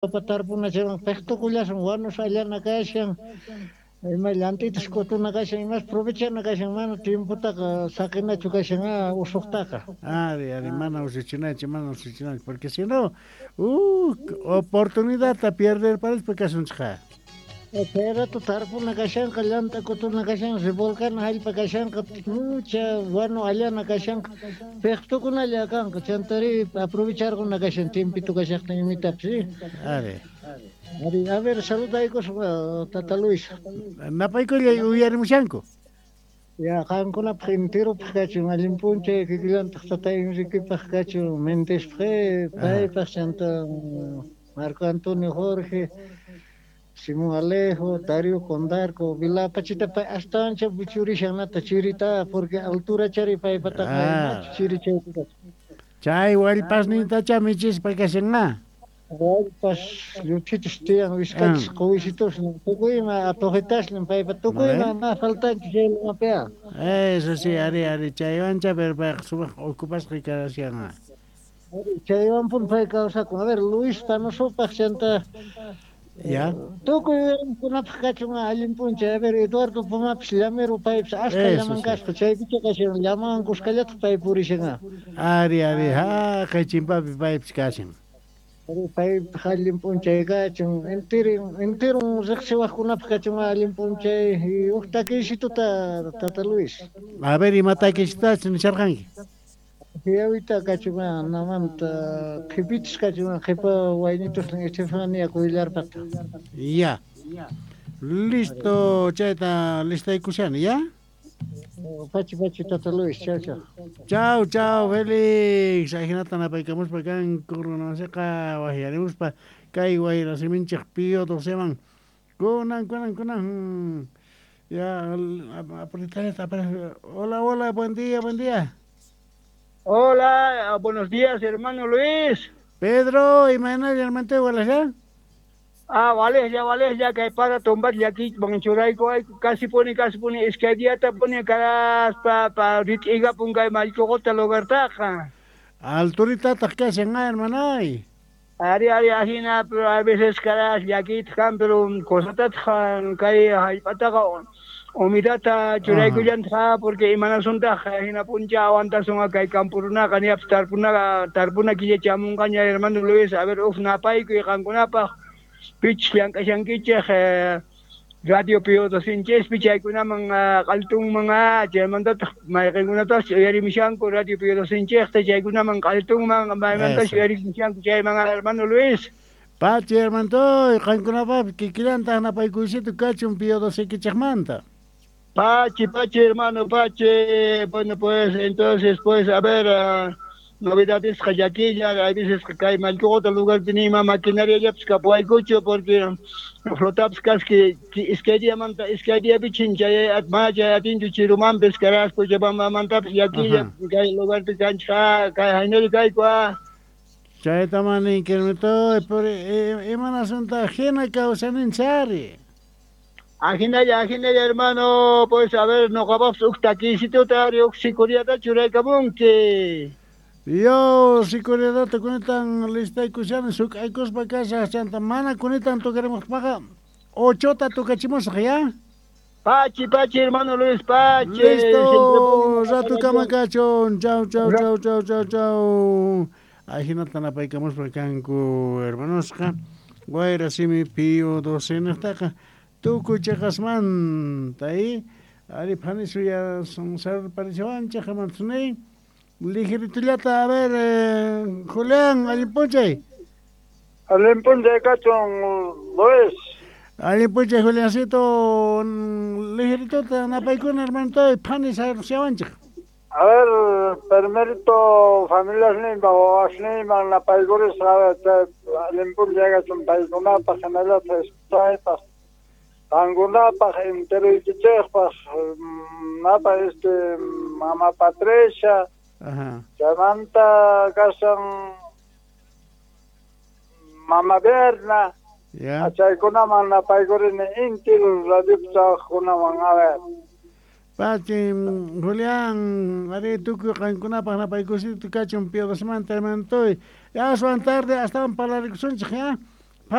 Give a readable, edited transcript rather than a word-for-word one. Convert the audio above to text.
Papa tarpuna chaywan piqtukullasun wanus allana kashan, ima llant'itas k'utuna kashan, imas provechana kashan, mana tiempotaqa saqinachu kashan usuqtaqa. Ari, ari, mana usuchinachu, mana usuchinachu, porque si no, oportunidadta pierder parispa kasunchikqa. Chay rato tarpuna kashanqa, llant'a k'utuna kashanqa, revolcana jallp'a kashanqa, mucha wanu allana kashanqa, piqtukunalla kanqa, chantari aprovecharquna kashan tiempito kashaqtin imitapis. Ari. Ari, a ver, saludaykusqa Tata Luis. Napaykullay uyarimushanku. Ya, qankunapaq enteropaq kachun, allin p'unchay kikillantaq Tata Enriquepaq kachun, Mendezpaq, paypaq, chanta Marco Antonio Jorge, Simón Alejo, Darío Condarco, Vilapachita pay astawancha buchurishan nata chirita, porque altura chari paypataqa chiri chaypi. Chay wallpasnintacha michispa kashanqa. Wallpas lluchichus tiyan wiskachis quwisitus tukuyma atuqitasnin paypa tukuyma ma faltanchu chay lumapiqa. Eso sí, ari, ari, chaywancha pero payqa sumaq ocupasqa kashanqa. Chaywanpuni pay kawsakun. A ver, Luis Panosopaq chanta Ya. Tukuy uyariqkunapaq kachun allin p'unchay. A ver, Eduardo Pumapis llamero paypis ashka llaman kaspa chaypicha kashan llaman kuskallataq pay purishan. Ari, ari, haqay chimpapi paypis kashan. Paypaq allin p'unchay kachun. Enteron riqsiwaqkunapaq kachun allin p'unchay. Huk takiysituta, Tata Luis. A ver, ima takiysitachus nisharqanki? Yawita kachun namanta qhipichis kachun qhipa waynitusnin Estefania Cuellarpata. Ya. Listo, chayta listaykushani, ya? Pachi, pachi, Tata Luis, chao, chao. Chao, chao, Félix. Ajinata napaykamuspa kanku runamasiqa wajyarimuspa kay wayrasiminchik Pío doceman. Kunan, kunan, kunan. Ya, apretallata, apretallata. Hola, hola, buen día, buen día. Hola, buenos días, hermano Luis. Pedro, imaynalla, hermano, wala Ah, vale, ya, vale, ya que para tumbar ya aquí, churayku, ay, casi pone, iskay pone caras pa pa rit'iga pungay mallkuqota lugartaqa. Alturitataq kashan, hermanay. Ari, ari, ajina, pero a veces caras llakiyta kan, pero cosatataq kay hallp'ataqa humedadta churaykullantaq porque imanasuntaq hina puncha aguantasun kay campo runaqa ñapis tarpunaqa tarpuna killa chamunqaña hermano Luis, a ver, uf napaykuy qankunapaq pichus llank'ashankichej radio Pío docenchispi chaykunaman q'altunman chaymantataq mayqinkunatapas uyarimushanku radio Pío docenchejta chaykunaman q'altunman maymantapas uyarimushanku chayman hermano Luis. Pachi, hermantoy, qankunapaq kikillantaq napaykuysito kachun Pío docekichejmanta. Pachi, pachi, hermano, pachi. Bueno, pues, entonces, pues, a ver, novedades llakilla, a veces kay mallkuqota lugarpi nima maquinaria llapis kapuwaykuchu porque flotapis kaski iskay diamanta iskay diapi chay mana chay atinchu chirumanpis caras Cochabambamantapis llakilla kay lugarpi kanchik kay haynari kayku. Chayta ninki, hermantoy, pero imanasunta hina kawsaninchari. Ajinalla, ajinalla, hermano, pues a ver, noqapapis huk takiysituta ari huk sikuriata churaykamunki. Yo, sikuriadata kunitan listaykushani suk'aykuspa kashaq chanta mana kunitan tukarimuqpaqa ochota tukachimusaq, ya? Pachi, pachi, hermano Luis, pachi. Listo, rato kama kachun. Chau, chau, chau, chau, chau, chau. Ajinata napaykamuspa kanku, hermanosqa. Wayra simi Pío docenaqtaqa tukuy chiqasmanta, ari phani suya sarparichawanchik hermanosniy. Ligeritullata, a ver, Julián, allin p'unchay. Allin p'unchay kachun, Luis. Allin p'unchay, Juliancito, ligerituta napaykuna, hermanitoy, phani sarushawanchik. A ver, primerito familiasninpa wawasniyman napaykurisqa, allin p'unchay kachun paykunapaq hinallataq esposaypaq, qankunapaq enteroykichikpaq, napa mama Patricia, chaymanta kashan mama Berna, chaykunaman napaykurini intiru radiopi trabajaqkunaman, a ver. Pachi, Julián, ari tukuy qankunapaq napaykusito kachun Pío docemanta, hermanitoy. Aswan tarde astawan parlarikusunchik, ya.